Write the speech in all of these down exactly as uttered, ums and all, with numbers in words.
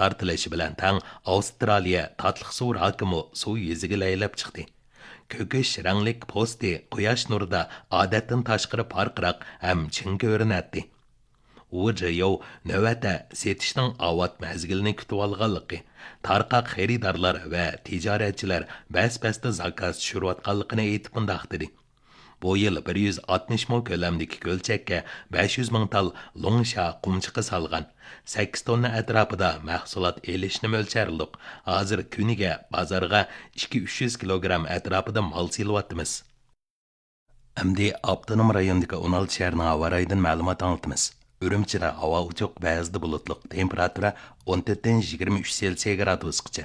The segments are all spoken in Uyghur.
تارتىلىشى بىلەن تەڭ ئاۋسترالىيە تاتلىق سۇ راكىمۇ سۇ يۈزىگە لەيلەپ چىقتى. كۆكۈش رەڭلىك پوستى قۇياش نۇرىدا ئادەتتىن تاشقىرى پارقىراق ھەم چىڭ كۆرۈنەتتى. ۋۇ جېيوۋ نۆۋەتتە سېتىشنىڭ ئاۋات مەزگىلىنى كۈتۈۋالغانلىقى، تارقاق خېرىدارلار ۋە تىجارەتچىلەر بەس-بەستە زاكاز چۈشۈرۈۋاتقانلىقىنى ئېيتىپ مۇنداق دېدى: بۇ يىل بىر يۈز ئاتمىش مو كۆلەمدىكى كۆلچەككە بەش يۈز مىڭ تال لۇڭشيا قۇمچىقى سالغان. سەككىز توننا ئەتراپىدا مەھسۇلات ئېلىشنى مۆلچەرلىدۇق. ھازىر كۈنىگە بازارغا ئىككى ئۈچ يۈز كىلوگرام ئەتراپىدا مال سېلىۋاتىمىز. ئەمدى ئاپتونوم رايوندىكى ئون ئالتە شەھەرنىڭ ھاۋا رايىدىن مەلۇمات ئاڭلىتىمىز. ئۈرۈمچىدە ھاۋا ئوچۇق، بەزىدە بۇلۇتلۇق، تېمپېراتۇرا ئون تۆتتىن يىگىرمە ئۈچ سېلسىيە گرادۇسقىچە.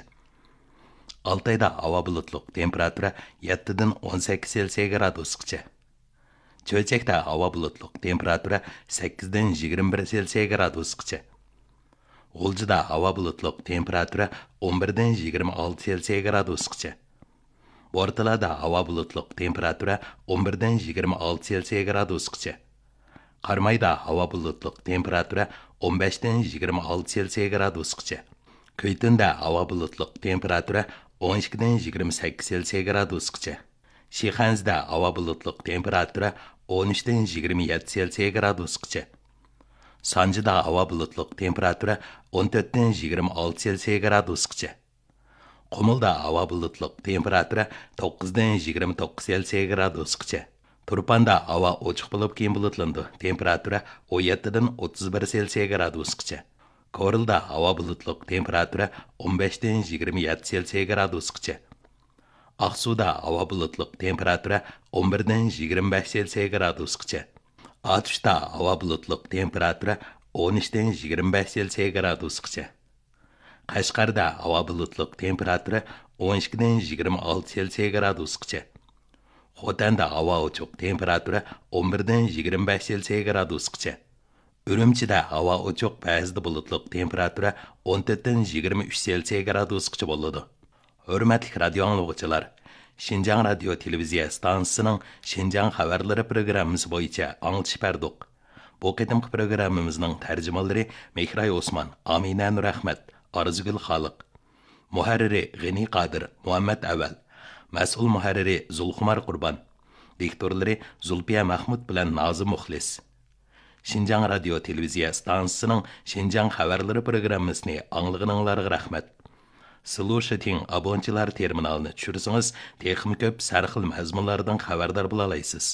ئالتايدا ھاۋا بۇلۇتلۇق، تېمپېراتۇرا يەتتىدىن ئون سەككىز سېلسىيە گرادۇسقىچە. چۆچەكتە ھاۋا بۇلۇتلۇق، تېمپېراتۇرا سەككىزدىن يىگىرمە بىر سېلسىيە گرادۇسقىچە. غۇلجىدا ھاۋا بۇلۇتلۇق، تېمپېراتۇرا ئون بىردىن يىگىرمە ئالتە سېلسىيە گرادۇسقىچە. بورتالادا ھاۋا بۇلۇتلۇق، تېمپېراتۇرا ئون بىردىن يىگىرمە ئالتە سېلسىيە گرادۇسقىچە. قارامايدا ھاۋا بۇلۇتلۇق، تېمپېراتۇرا ئون بەشتىن يىگىرمە ئالتە سېلسىيە گرادۇسقىچە. كۈيتۇندا ھاۋا بۇلۇتلۇق، تېمپېراتۇرا ئون ئىككىدىن يىگىرمە سەككىز سېلسىيە گرادۇسقىچە. شىخەنزىدە ھاۋا بۇلۇتلۇق، تېمپېراتۇرا ئون ئۈچتىن يىگىرمە يەتتە سېلسىيە گرادۇسقىچە. سانجىدا ھاۋا بۇلۇتلۇق، تېمپېراتۇرا ئون تۆتتىن يىگىرمە ئالتە سېلسىيە گرادۇسقىچە. قۇمۇلدا ھاۋا بۇلۇتلۇق، تېمپېراتۇرا توققۇزدىن يىگىرمە توققۇز سېلسىيە گرادۇسقىچە. تۇرپاندا ھاۋا ئوچۇق بولۇپ، كېيىن بۇلۇتلىنىدۇ، تېمپېراتۇرا ئون يەتتىدىن ئوتتۇز بىر سېلسىيە گرادۇسقىچە. كورلىدا ھاۋا بۇلۇتلۇق، تېمپېراتۇرا ئون بەشتىن يىگىرمە يەتتە سېلسىيە گرادۇسقىچە. ئاقسۇدا ھاۋا بۇلۇتلۇق، تېمپېراتۇرا ئون بىردىن يىگىرمە بەش سېلسىيە گرادۇسقىچە. ئاتۇشتا ھاۋا بۇلۇتلۇق، تېمپېراتۇرا ئون ئۈچتىن يىگىرمە بەش سېلسىيە گرادۇسقىچە. قەشقەردە ھاۋا بۇلۇتلۇق، تېمپېراتۇرا ئون ئىككىدىن يىگىرمە ئالتە سېلسىيە گرادۇسقىچە. خوتەندە ھاۋا ئوچۇق، تېمپېراتۇرا ئون بىردىن يىگىرمە بەش سېلسىيە گرادۇسقىچە. ئۈرۈمچىدە ھاۋا ئوچۇق، بەزىدە بۇلۇتلۇق، تېمپېراتۇرا ئون تۆتتىن يىگىرمە ئۈچ سېلسىيە گرادۇسقىچە بولىدۇ. ھۆرمەتلىك رادىيو ئاڭلىغۇچىلار، شىنجاڭ رادىيو تېلېۋىزىيە ئىستانسىسىنىڭ شىنجاڭ خەۋەرلىرى پروگراممىسى بويىچە ئاڭلىتىش بەردۇق. بۇ قېتىمقى پروگراممىمىزنىڭ تەرجىمانلىرى مېھراي ئوسمان، ئامىنە نۇرئەخمەت، ئارزۇگۈل خالىق. مۇھەررىرى غېنى قادىر، مۇھەممەت ئەۋەل. مەسئۇل مۇھەررىرى زۇلخۇمار قۇربان. دىكتورلىرى زۇلپىيە مەخمۇت بىلەن نازىم مۇخلىس. شىنجاڭ رادىيو تېلېۋىزىيە ئىستانسىسىنىڭ شىنجاڭ خەۋەرلىرى پروگراممىسىنى ئاڭلىغىنىڭلارغا رەھمەت. سلۇشىتىڭ ئابونچىلار تېرمىنالىنى چۈشۈرسىڭىز، تېخىمۇ كۆپ سەرخىل مەزمۇنلاردىن خەۋەردار بولالايسىز.